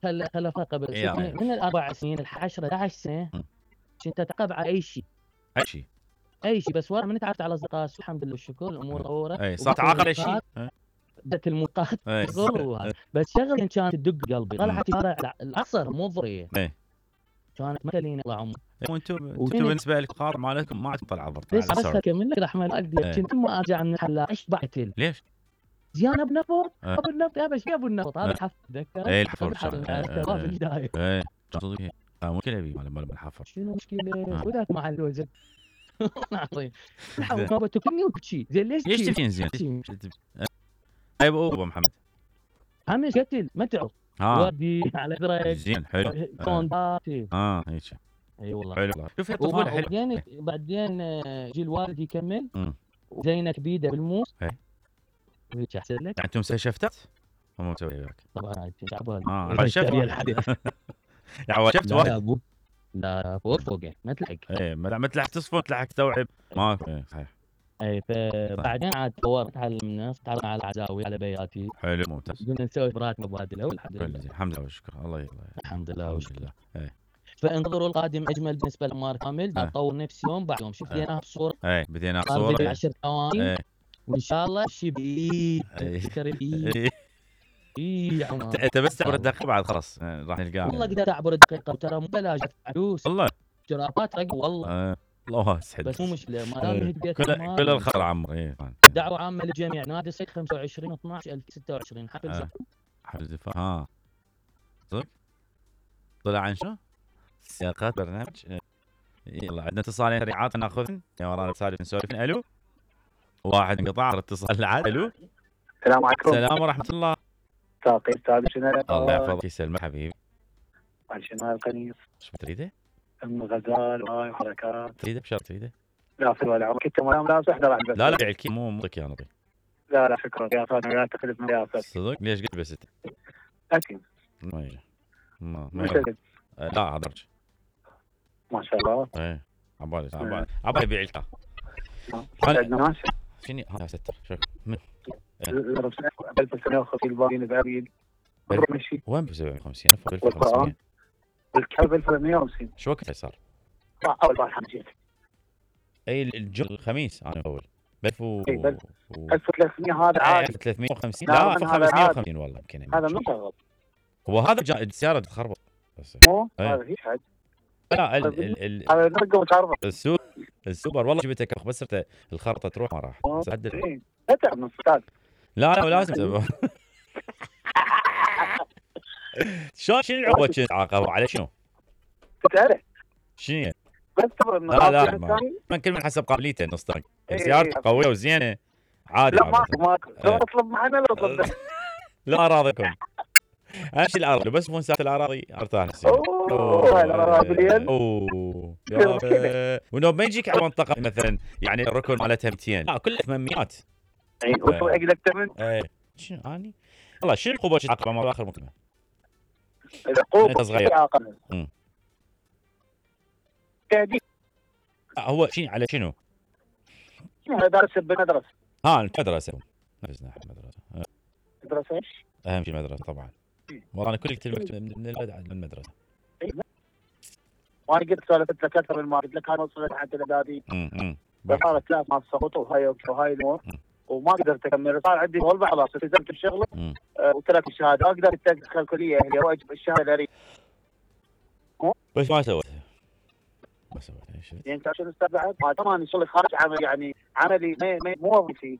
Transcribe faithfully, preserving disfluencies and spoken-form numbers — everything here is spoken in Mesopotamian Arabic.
خل خل قبل شوف إيه. من, من الاربع سنين العشرة احد عشر سنه م. كنت اتعاقب على اي شيء اي شيء اي شيء بس ورا من تعرفت على اصدقاء الحمد لله والشكر الامور طورت. اي صار تعاقل على شيء بدت الموقات إيه. شغل بس شغله كانت تدق قلبي طلعت شارع العصر مو ضريه اي كانت مثلين الله عمر. وانتم انتم بالنسبه لكم خاطر مالكم ما عندكم طلعه ضرب ليش على بس السعودي. اكمل لك رحمه الله إيه. كنت ما ارجع من الحلاق ايش بعتل ليش؟ زيان ابو النفط إيه. ابو النفط يا بس يا ابو النفط هذا إيه. الحفل تذكر اي الحفر عرفته في البدايه اي صدق اه ممكن ابي مال مال الحفر شنو مشكله آه. وذاك مع الوزن عظيم ما بتكلني وتشي زين ليش ليش تبين زين اي ابو محمد عمي قتل ما تعرف ها ودي على درج زين حلو كونداتي اه هيك اي والله حلو شوف الطفوله حلو بعدين بعدين جي الوالد يكمل امم زينك بيده بالموس اي هيك احسن لك يعني انتم مسوي شفتات هم مسوي وياك طبعا هاي تعبان اه على شفت يعني شفت لا واحد ابو لا فوق فوق ما تلحق ايه ما تلحق تصفن تلحق تستوعب ما ايه صحيح اي فبعدين عاد طورت على الناس تعرف على العزاوي على بياتي حلو ممتاز قلنا نسوي برات مبادله والحمد لله الحمد لله والشكر الله يلا الحمد لله والشكر لله ايه فانتظروا القادم اجمل بالنسبه لمار كامل اه. اطور نفسي يوم بعد يوم شوف بديناها بصوره ايه بدينا بصوره عشر ثواني ايه وان شاء الله شيء بايد ايه فكر بايد ايه اي يا عمر انت بس تعبر الدقيقه بعد خلاص راح نلقاه والله قدرت اعبر الدقيقه وترى مو بلاش فلوس والله جرافات رقم والله اه. الله يسعدك بس مو مشكله ما دام هديت كل كل الخير عمري ايه دعوه عامه للجميع نادي الصيد خمسة وعشرين اثنعش ألفين وستة وعشرين حفل آه. زفاف حفل زفاف ها صدق طلع عن شو؟ سياقات برنامج يلا عندنا اتصالين سريعات ناخذن يا ورانا سالف نسولف. الو واحد انقطع الاتصال اللي عاد. الو السلام عليكم. السلام ورحمه الله. ساقي استاذ شنو الله يحفظك يسلمك حبيبي. شنو القنيص شو تريده؟ ام غزال وهاي وحركات تريده بشرط تريده؟ لا في ولا عمرك انت ما لابس احنا راح لا لا الكي مو مضيك يا نظيف. لا لا شكرا يا فاطمه لا تخلف من يا فاطمه. صدق ليش قلت بس انت؟ اكيد ما يجي ما مش ما لا هذرج ما شاء الله. ايه عبالي عبالي عبالي يبيع الكا. عندنا ناس شنو هذا ستر شوف من ألف وسبعمية وخمسين الباقيين بعيد ماشي وين ب سبعمية وخمسين ألف ألف وخمسمية الكلب ألف وثمانمية وخمسين. شو وقت صار؟ اول بارحه جيت اي الجمعه الخميس انا اول ألف و ألف وثلاثمية هذا عادي. ألف وثلاثمية وخمسين لا ألف وخمسمية وخمسين والله يمكن هذا مشغل. هو هذا جا... السياره تخربط بس مو هذا هيك حاجه. لا ال ال ال هذا نرقه وتعرف السوبر السوبر والله جبته كرخ بس الخرطه تروح ما راح عدل لا تعب من استاذ. لا لا لازم شلون شنو العقوبه كنت تعاقبوا على شنو؟ تعرف شنو؟ بس تبغى لا لا ما كل من حسب قابليته نص طريق سيارته قويه وزينه عادي. لا ماكو ماكو لو اطلب معنا لو اطلب لا اراضيكم امشي الاراضي بس مو ساعه الاراضي ارتاح اوه الاراضي اوه ونوب ما يجيك على منطقه مثلا يعني الركن مالتها مئتين لا كلها ثمانمية. اي وصل اقلك ثمن. اي شنو اني والله شنو العقوبه اللي تعاقب مع اخر مكالمه؟ العقوبه صغير امم تهديد. هو شنو على شنو؟ درس بالمدرسه. ها المدرسه نفسنا المدرسه مدرسه ايش؟ اهم شيء المدرسه طبعا. والله انا كل كلمه من المدرسه. وانا قلت سولفت لك اكثر من ما قلت لك انا وصلت حتى الاعدادي. امم صارت لا ما سقطت وهاي وهاي الامور وما قدرت اكمل. صار عندي والله خلاص التزمت بشغله أه وتركت الشهاده. اقدر ادخل الكليه اللي هو الشهاده الاري بس ما سويت ما سويت اي شيء. يعني انت عشان استاذ بعد ما طبعا شغلي خارج عمل يعني عملي مو مو وظيفي